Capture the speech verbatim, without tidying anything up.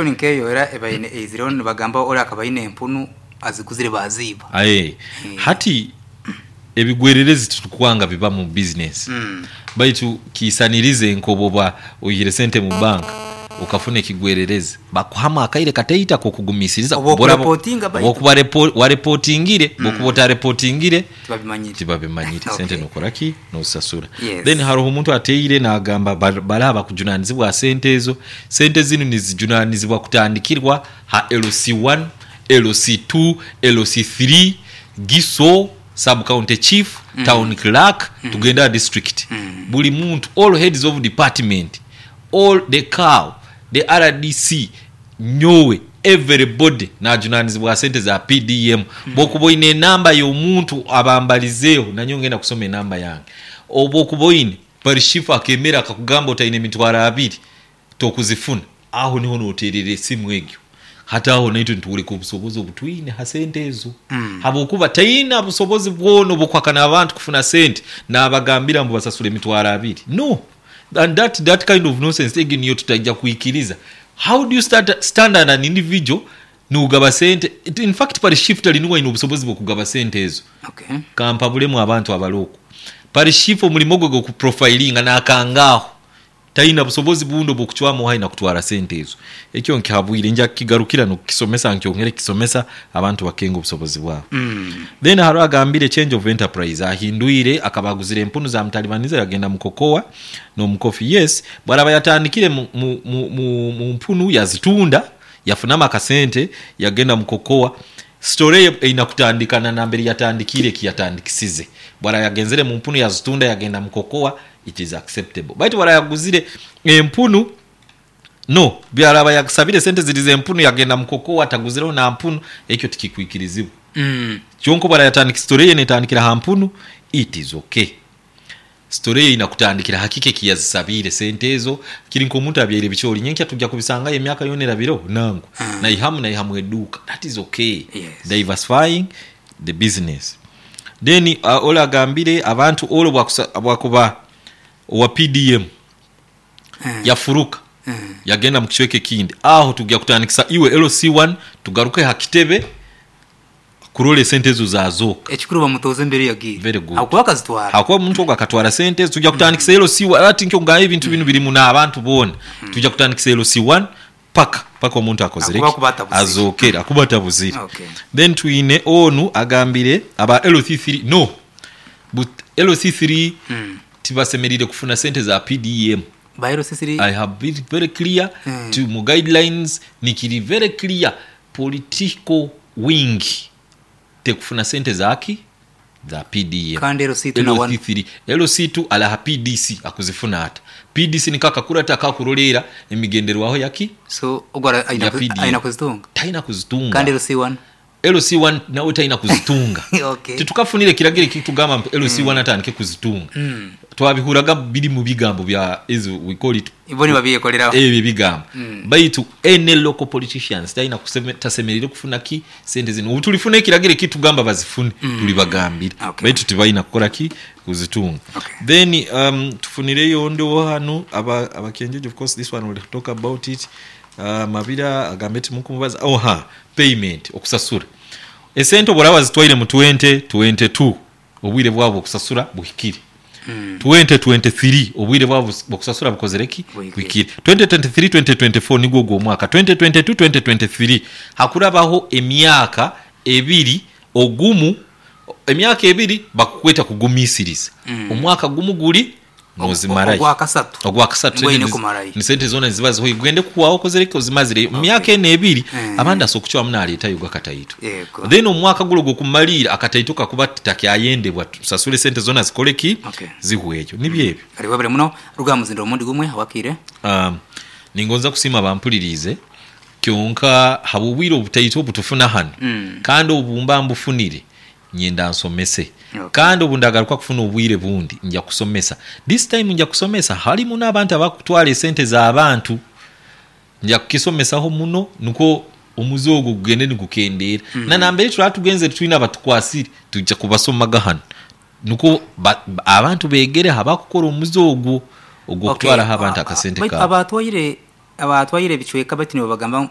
Nkeyo era ebaine eizireho nibagamba ori akaba aine empunu aziguzire baziiba. Aye hati ebigwererezi titukwanga biba mu bizinesi, baitu kiisanirize nk'obwoba oihire sente mu banka okafuna ekigwererezi bakuhamu akaire kataito ak'okugumisiriza Oba okurepotinga baitu. Bwokuba warepotingire, bwokuba otarepotingire Tibabimanyire. tibabimanyire sente Okay. nokora ki? Nozisasura. Yes. Then haroho omuntu ateire nagamba bale abakujunanizibwa aha sente ezo, sente zinu nizijunanizibwa kutandikirwa ha L C one, L C two, L C three, Giso, Sub County Chief, Town Clerk, tugende aha district. Buli muntu, all heads of department, all the C A O, the R D C, nyowe, everybody najunanizibwa aha sente za P D M. Bwokuba oine enamba y'omuntu abambalizeeho, nanyowe ngenda kusoma enamba yange. Obwokuba oine parishifu akemera akakugamba otaine emitwaro abiri tokuzifuna, aho niho noterera esimu egyo. Hati aho naitwe nitworeka obusobozi obutwine ha sente ezo. Habwokuba taina busobozi bwona obukuhakana abantu kufuna sente nabagambira ngu basasule emitwaro abiri. No! And that, that kind of nonsense egyo niyo tutaija kwikiriza. How do you start, stand as an individual nogaba sente? In fact parishifu tali niwe aine obusobozi bw'okugaba sente ezo. Okay. Kampabulemu abantu abali okwo. Parishifu omulimo gwe gw'okuprofilinga nakangaaho. Taina busobozi bundi obw'okucwamu oha aina kutwara sente ezo. Ekyo nkihabwire nja kukigarukira n'okukisomesa nkyongere kukisomesa abantu bakenga obusobozi bwabo. Mm. Then hariho agambire change of enterprise ahindwire akaba aguzire empunu za mutalibaniza yagenda mu kokoa n'omukofi. Yes, bwaraba yatandikire mu, mu, mu, mu, mu mpunu yazitunda yafunamu akasente yagenda mu kokoa. Story ye eina kutandikana nambere yatandikire ekiyatandikisize. Bwara yagenzere mu mpunu yazitunda yagenda mu kokoa, it is acceptable. Baitu bwara yaguzire empunu, no, byaraba yakusabire sente ziri z'empunu yagenda mu kokoa taguzireho na mpunu, ekyo tikikwikirizibwa. Mm. Kyonka bwara yatandika story ye netandikira ha mpunu, it is okay. Story ye eina kutandikira hakiki ekiyazisabiire sente ezo, kiri nk'omuntu abyaire ebicoori nyenkya tujja kubisangayo emyaka yoona erabireho nangwa. Mm. Naihamu naihamu eduuka. That is okay. Yes. Diversifying the business. Then uh, ole agambire abantu ole bwakusa- bwakuba owa P D M Mm. yafuruka Mm. yagenda mu kicweka ekindi, aho tujja kutandikisa iwe L C one tugaruke ha kitebe kurola esente ezo zazooka. Ekikuru bamutoza embere yagiire. Very good. Akuba akazitwara. Hakuba omuntu ogwo akatwara sente ezo tujja kutandikisa L C one. Ati nkyo ngamba ebintu binu birimu n'abantu boona, tujja kutandikisa L C one paka paka omuntu akozere Akuba ki? kuba atabuzire. Azookere akuba atabuzire. Okay. Then twine onu agambire aba L C three, no, but L C three Mm. tibasemerire kufuna sente za P D M. Ba L C three. I have been very clear Mm. to mu guidelines nikiri very clear, political wing tekufuna sente zaki za P D M. Kandi L C two na one. L C three, L C two alaha P D C akuzifuna ata P D C nikakakurata akakurolera emigenderwaho yaki So ogwara aina ya ku- P D M. Aina kuzitunga. Taina kuzitunga. Kandi L C one. L C one nawe taina kuzitunga. Okay. Titukafunire kiragiro ekitugamba nti L C one atandike kuzitunga. Mm. Twabihuraga biri mu bigambo bya ezo we call it Ibo nibabiyekoleraho. Ebyo ebigambo. Mm. Baitu any local politicians talina kuseme- tasemerire kufuna ki sente zino. Obu tulifuna ekiragiro ekitugamba bazifune, tulibagambira. Okay. Baitu tibalina kukola ki? Kuzitunga. Okay. Then um, tufunireyo ndiwo hanu aba abakenjeje, of course this one will talk about it. uh, mabira agambe timukumubaza. Oh, ha, payment, okusasura esente obworaba zitwaire mu twenty twenty-two obwire bwabo okusasura buhikire. Mm. twenty twenty-three obwire bwabo bwokusasura bukozere ki? Buhikire. Buhikire. twenty twenty-three, twenty twenty-four nigwo ogwo omwaka twenty twenty-two, twenty twenty-three hakurabaho emyaka ebiri ogumu, emyaka ebiri bakukweta kugumisiriza. Mm. Omwaka gumu guri nozimarayo. Ogwakasatu. Ogwakasatu Ngwaine sente kumarayo. ni sente zona niziba zihoire gende kuwaho okozere ki? Ozimazireyo mu myaka eno ebiri. Mm. Abandi asobola okucwamu naleetayo gakataito. Yego. Then omwaka gulo gwokumaliira akataito kakuba titakyayendebwa, tusasule sente zona zikole ki? Okay. Zihweyo nibyo ebyo. Kale webale muno ruga muzindo omundi gumwe wakire. um, ningonza kusiima bampuliriize kyonka habwobwire obutaito obutufuna hano. Mm. Kandi obu mba mbufunire nyenda nsomese. Okay. Kandi obu ndagaruka kufuna obwire bundi nja kusomesa, this time nja kusomesa halimu n'abantu abakutwara esente z'abantu, nja kukisomesaho muno nukwo omuze ogwo gugende nigukendeera. mm. Na nambere turaba tugenze twine abatukwasire tujja kubasomaga hano nukwo ba, ba, abantu begere habakukora omuze ogwo ogw'okutwaraho abantu akasente Baitu kaabo. Abatwaire Abatwaire ebicweka baitu nibo bagamba